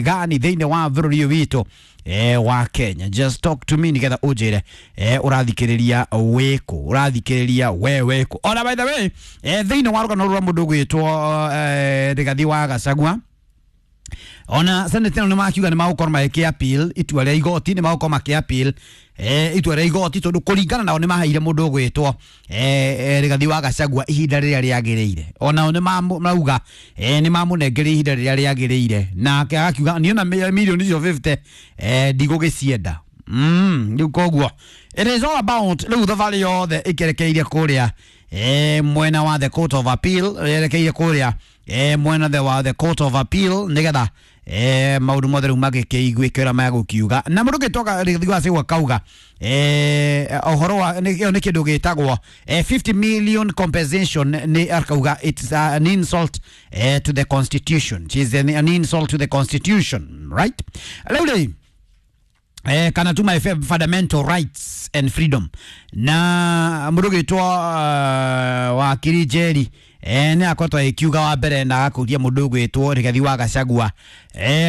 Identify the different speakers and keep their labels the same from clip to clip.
Speaker 1: Gani thĩinĩ wa bũrũri ũyũ witũ wa Kenya. Just talk to me nigetha ũnjĩre ũrathikĩrĩria wĩkũ, ũrathikĩrĩria we wĩkũ. Ona by the way, thĩinĩ wa rũgano rwa mũndũ ũgwĩtwo Rigathi wa Gachagua, ona senate ĩno nĩ makiuga nĩ magũkorwo magĩkĩ appeal itua rĩa igoti, nĩ magũkorwo makĩ appeal itua rĩa igoti tondũ kũringana nao nĩ maheire mũndũ ũgwĩtwo Rigathi wa Gachagua ihinda rĩrĩa rĩagĩrĩire. Onao nĩ mauga nĩ mamũnengeire ihinda rĩrĩa rĩagĩrĩire, nake agakiuga niĩ ona mirioni icio 50 ndigũgĩcienda. Rĩu koguo it is all about rĩu thabarĩ yothe ĩkerekeirie kũrĩa mwena wa the court of appeal, yerekeire kũrĩa mwena the wa the court of appeal nigetha maũndũ mothe rĩu magĩkĩiguĩke ũrĩa megũkiuga. Na mũndũ ũngĩtoka Rigathi wa Gachagua kauga ũhoro wa ĩyo nĩ kĩndũ gĩtagwo 50 million compensation, nĩ akauga it's an insult to the constitution. It is an insult to the constitution, right? Rĩu rĩ kana to my fundamental rights and freedom. Na mũndũ ũgĩtwo wakiri Njeri nĩ akoretwo agĩkiuga wa mbere na agakũria mũndũ ũgwĩtwo Rigathi wa Gachagua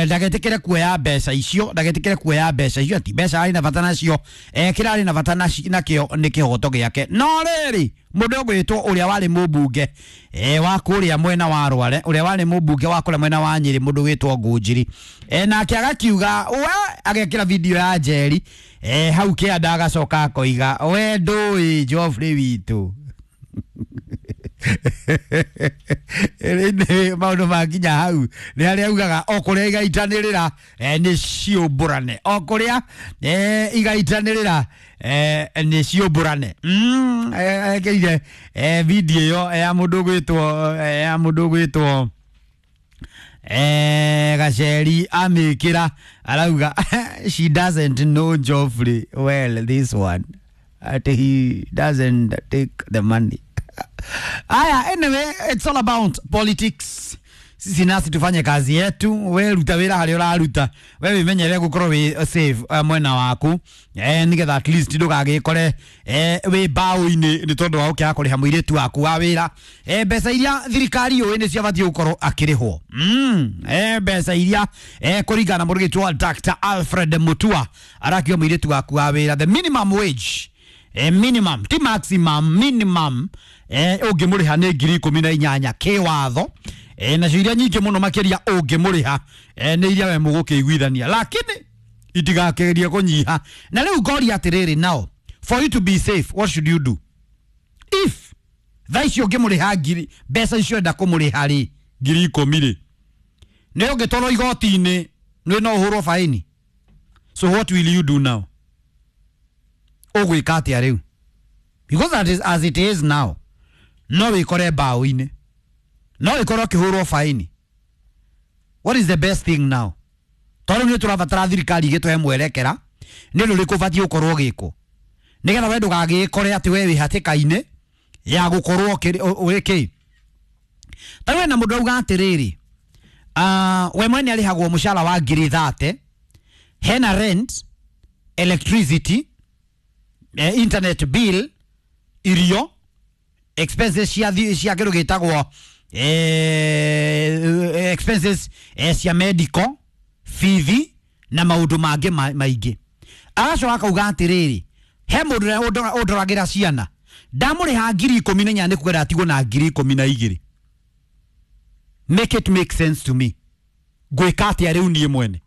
Speaker 1: ndagetĩkĩre kuoya mbeca icio, ndagetĩkĩre kuoya mbeca icio, ati mbeca arĩ na bata nacio, kĩrĩa arĩ na bata nakĩo nĩ kĩhoto gĩake. No rĩrĩ, mũndũ ũgwĩtwo ũrĩa warĩ mũmbunge wa kũrĩa mwena wa Rware, ũrĩa warĩ mũmbunge wa kũrĩa mwena wa Nyĩrĩ, mũndũ ũgwĩtwo Ngũnjiri, nake agakiuga we agekĩra video ya Njeri hau kĩanda, agacoka akoiga we ndũĩ Geoffrey witũ. Rĩndĩ maũndũ makinya hau nĩ harĩa augaga o kũrĩa igaitanĩrĩra nĩ ciũmbũrane, o kũrĩa igaitanĩrĩra nĩ ciũmbũrane. Ekĩrire video ĩyo ya mũndũ ũgwĩtwo ya mũndũ ũgwĩtwo Gacheri, amĩkĩra arauga she doesn't know Geoffrey well, this one at he doesn't take the money. Aya, anyway, it's all about politics. Sisi nasi tufanye kazi yetu, we ruta wĩra harĩa ũraruta, we wĩmenyere gũkorwo wĩ safe mwena waku nĩgetha at least ndũgagĩkore wĩ mbaũ-inĩ nĩ tondũ wa gũkĩaga kũrĩha mũirĩtu waku wa wĩra mbeca iria thirikari yũĩ nĩ ciabatiĩ gũkorwo akĩrĩhwo. Mbeca iria kũringana na mũrũgĩtwo wa Dr. Alfred Mutua arakiuga mũirĩtu waku wa wĩra the minimum wage, minimum ti maximum, minimum ũngĩmũrĩha nĩ 18,000 kĩwatho, nacio iria nyingĩ mũno makĩria ũngĩmũrĩha nĩ iria we mũgũkĩiguithania, lakini itigakĩgerie kũnyiha. Na rĩu ngoria atĩrĩrĩ, now for you to be safe, what should you do if thaa icio ũngĩmũrĩha ngiri mbeca icio enda kũmũrĩha rĩ 10,000 rĩ, nĩ ũngĩtwarwo igoti-inĩ nĩ no ũhũrwo faini? So what will you do now? Ũgwĩka atĩa rĩu? Because that is, as it is now, no wĩkore mbaũ-inĩ, no wĩkore ũkĩhũrwo faini. What is the best thing now? Tondũ nĩ tũrabatara thirikari ĩgĩtũhe mwerekera nĩ ũndũ ũrĩkũ ũbatiĩ gũkorwo ũgĩkwo nĩgetha we ndũgagĩkore atĩ we wĩ hatĩka-inĩ ya gũkorwo ũrĩ kĩ. Ta rĩu hena mũndũ auga atĩrĩrĩ, we mwene arĩhagwo mũcara wa 30,000, hena rent, electricity, internet bill, irio, expenses cia cia kĩndũ gĩtagwo expenses cia medical bithi na maũndũ mangĩ maingĩ. Agacoka akauga atĩrĩrĩ, he mũndũ ũrĩa ũndoragĩra ciana, ndamũrĩha 14,000 nĩ kuga ndatigwo na 12,000. Make it make sense to me. Ngwĩka atĩa rĩu niĩ mwene?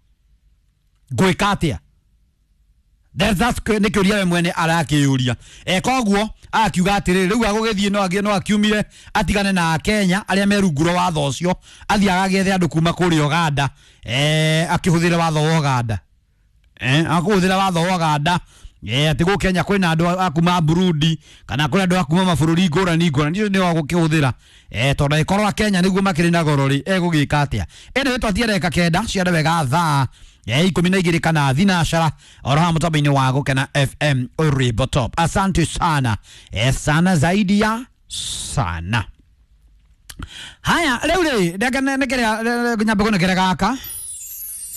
Speaker 1: Ngwĩka atĩa? That's nĩ kĩũria we mwene arakĩyũria. Koguo akiuga atĩrĩrĩ, rĩu agũgĩthiĩ no no akiumire atigane na Akenya arĩa me rungu rwa watho ũcio, athiĩ agagĩethe andũ kuma kũrĩa Uganda, akĩhũthĩre watho wa Uganda, akũhũthĩra watho wa Uganda, atĩ gũkũ Kenya kwĩna andũ a kuma Burundi kana kwĩna andũ a kuma mabũrũri ngũrani ngũrani, icio nĩo agũkĩhũthĩra, tondũ angĩkorwo a Kenya nĩguo makĩrĩ na goro rĩ, egũgĩka atĩa? Ĩno ĩtwatie ndagĩka 9 cia wega thaa 12 kana thinacara oro haha mũtambo-inĩ wa Gũkena FM Uribo Top. Asante sana, sana zaidi ya sana. Haya, rĩu rĩ, reke nyambe kũnekere gaka.